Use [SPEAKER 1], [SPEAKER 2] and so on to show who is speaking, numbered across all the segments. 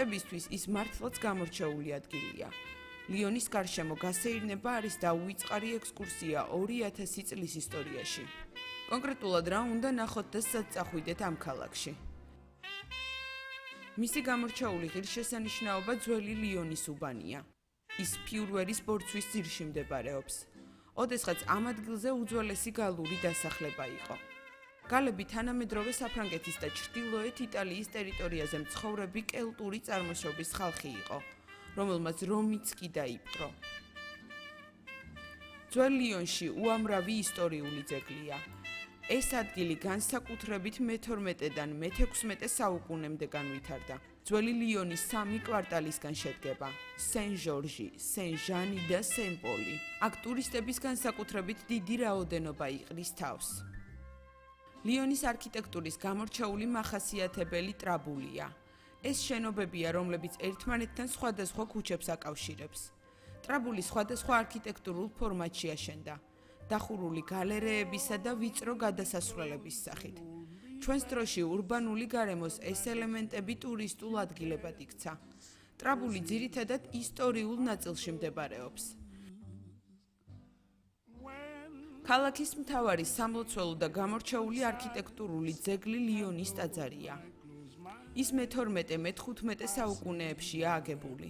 [SPEAKER 1] ტურისტებისთვის ის მართლაც გამორჩეული ადგილია. ლიონის გარშემო გასეირნება არის დაუვიწყარი ექსკურსია 2000 წლის ისტორიაში. კონკრეტულად რა უნდა ნახოთ და სად წახვიდეთ ამ ქალაქში. მისი გამორჩეული ღირსშესანიშნაობა ძველი ლიონის უბანია. ის ფიურვერის ბორცვის ძირში მდებარეობს. ოდესღაც ამ ადგილზე უძველესი გალური დასახლება იყო. გალები თანამედროვე საფრანგეთის და ჩრდილოეთ იტალიის ტერიტორიაზე მცხოვრები კელტური წარმოშობის ხალხი იყო, რომელმაც რომიც კი დაიპყრო. ძველ ლიონში უამრავი ისტორიული ძეგლია. ეს ადგილი განსაკუთრებით მე-12-დან მე-16 საუკუნემდე განვითარდა. ძველი ლიონის 3 კვარტალისგან შედგება: სენ-ჟორჟი, სენ-ჟანი და სენ-პოლი. აქ ტურისტების განსაკუთრებით დიდი რაოდენობა იყრის თავს. ლიონის არქიტექტურის გამორჩეული მახასიათებელი ტრაბულია. ეს შენობებია, რომლებიც ერთმანეთთან სხვადასხვა ქუჩებს აკავშირებს. ტრაბული სხვადასხვა არქიტექტურულ ფორმატში აშენდა, დახურული გალერეებისა და ვიწრო გადასასვლელების სახით. ჩვენს დროში ურბანული გარემოს ეს ელემენტები ტურისტულ ადგილებად იქცა. ტრაბული ძირითადად ისტორიულ ნაწილში მდებარეობს. ქალაქის მთავარი სამლოცველო და გამორჩეული არქიტექტურული ძეგლი ლიონის ტაძარია. ის მე-12-მე-15 საუკუნეებშია აგებული.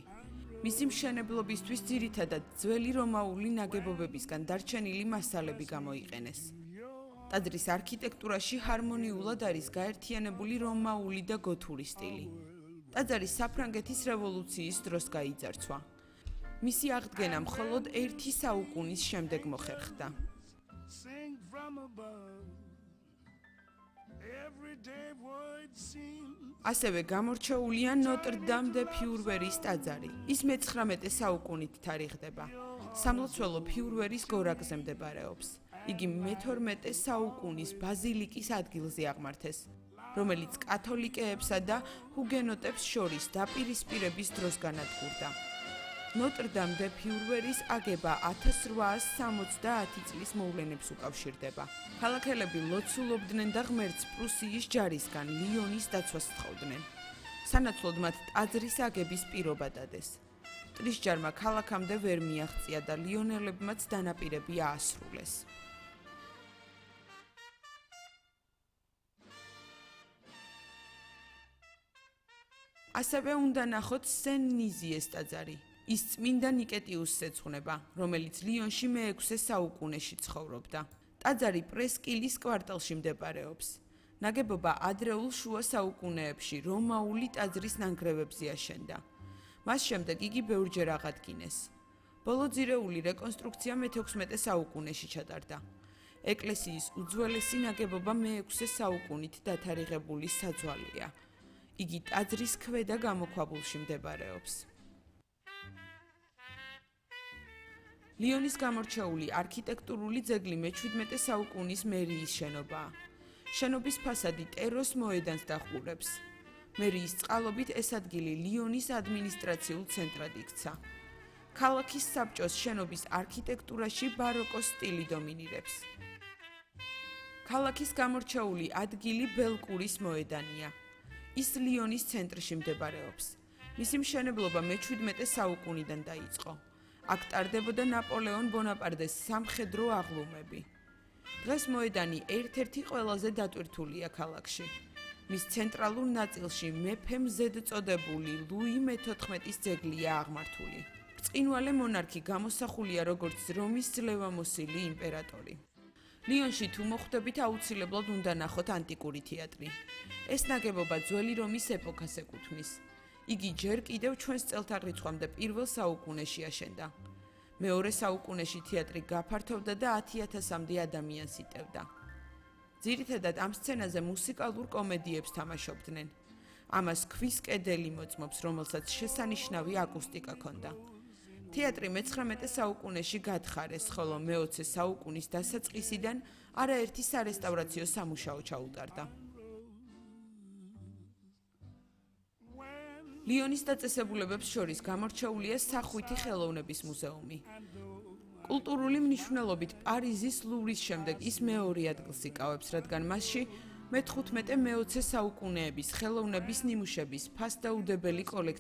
[SPEAKER 1] მისი მშენებლობისთვის ძირითადად ძველი რომაული ნაგებობებისგან დარჩენილი მასალები გამოიყენეს. ტაძრის არქიტექტურაში ჰარმონიულად არის გაერთიანებული რომაული და გოთური სტილი. ტაძარი საფრანგეთის რევოლუციის დროს გაიძარცვა. მისი აღდგენა მხოლოდ 1 საუკუნის შემდეგ მოხერხდა. ასევე გამორჩეულია ნოტრ-დამ დე ფიურვერის ტაძარი. ის მე-19 საუკუნით თარიღდება. სამლოცველო ფიურვერის გორაკზე მდებარეობს. იგი მე-12 საუკუნის ბაზილიკის ადგილზე აღმართეს, რომელიც კათოლიკეებსა და ჰუგენოტებს შორის დაპირისპირების დროს განადგურდა. ნოტრ-დამ დე ფიურვერის აგება 1870 წლის მოვლენებს უკავშირდება. ქალაქელები ლოცულობდნენ და ღმერთს პრუსიის ჯარისგან ლიონის დაცვას თხოვდნენ. სანაცვლოდ მათ ტაძრის აგების პირობა დადეს. მტრის-ჯარმა ქალაქამდე ვერ მიაღწია და ლიონელებმაც დანაპირები აასრულეს. ასევე უნდა ნახოთ სენ-ნიზიეს ტაძარი. ის წმინდა ნიკეტიუსს ეძღვნება, რომელიც ლიონში მე-6 საუკუნეში ცხოვრობდა. ტაძარი პრესკილის კვარტალში მდებარეობს. ნაგებობა ადრეულ შუა საუკუნეებში რომაული ტაძრის ნანგრევებზე აშენდა. მას შემდეგ იგი ბევრჯერ აღადგინეს. ბოლო ძირეული რეკონსტრუქცია მე-16 საუკუნეში ჩატარდა. ეკლესიის უძველესი ნაგებობა მე-6 საუკუნით დათარიღებული საძვალეა. იგი ტაძრის ქვედა გამოქვაბულში მდებარეობს. ლიონის გამორჩეული არქიტექტურული ძეგლი მე-17 საუკუნის მერიის შენობაა. შენობის ფასადი ტეროს მოედანს დაჰყურებს. მერიის წყალობით ეს ადგილი ლიონის ადმინისტრაციულ ცენტრად იქცა. ქალაქის საბჭოს შენობის არქიტექტურაში ბაროკოს სტილი დომინირებს. ქალაქის გამორჩეული ადგილი ბელკურის მოედანია. ის ლიონის ცენტრში მდებარეობს. მისი მშენებლობა მე-17 საუკუნიდან დაიწყო. აქ ტარდებოდა ნაპოლეონ ბონაპარტეს სამხედრო აღლუმები. დღეს მოედანი ერთ-ერთი ყველაზე დატვირთულია ქალაქში. მის ცენტრალურ ნაწილში მეფე მზედწოდებული ლუი მე-14-ის ძეგლია აღმართული. ბრწყინვალე მონარქი გამოსახულია როგორც რომის ძლევამოსილი იმპერატორი. ლიონში თუ მოხვდებით აუცილებლად უნდა ნახოთ ანტიკური თეატრი. ეს ნაგებობა ძველი რომის ეპოქას ეკუთვნის. იგი ჯერ კიდევ ჩვენს წელთაღრიცხვამდე პირველ საუკუნეში აშენდა. მეორე საუკუნეში თეატრი გაფართოვდა და 10,000-მდე ადამიანს იტევდა. ძირითადად ამ სცენაზე მუსიკალურ კომედიებს თამაშობდნენ. ამას ქვის კედელი მოწმობს, რომელსაც შესანიშნავი აკუსტიკა ჰქონდა. თეატრი მე-19 საუკუნეში გათხარეს, ხოლო მე-20 საუკუნის დასაწყისიდან არაერთი სარესტავრაციო სამუშაო ჩაუტარდა. ლიონის დაწესებულებებს შორის გამორჩეულია სახვითი ხელოვნების მუზეუმი. კულტურული მნიშვნელობით პარიზის ლუვრის შემდეგ ის მეორე ადგილს იკავებს, რადგან მასში მე-15-მე-20 საუკუნეების ხელოვნების ნიმუშების ფასდაუდებელი კოლექცია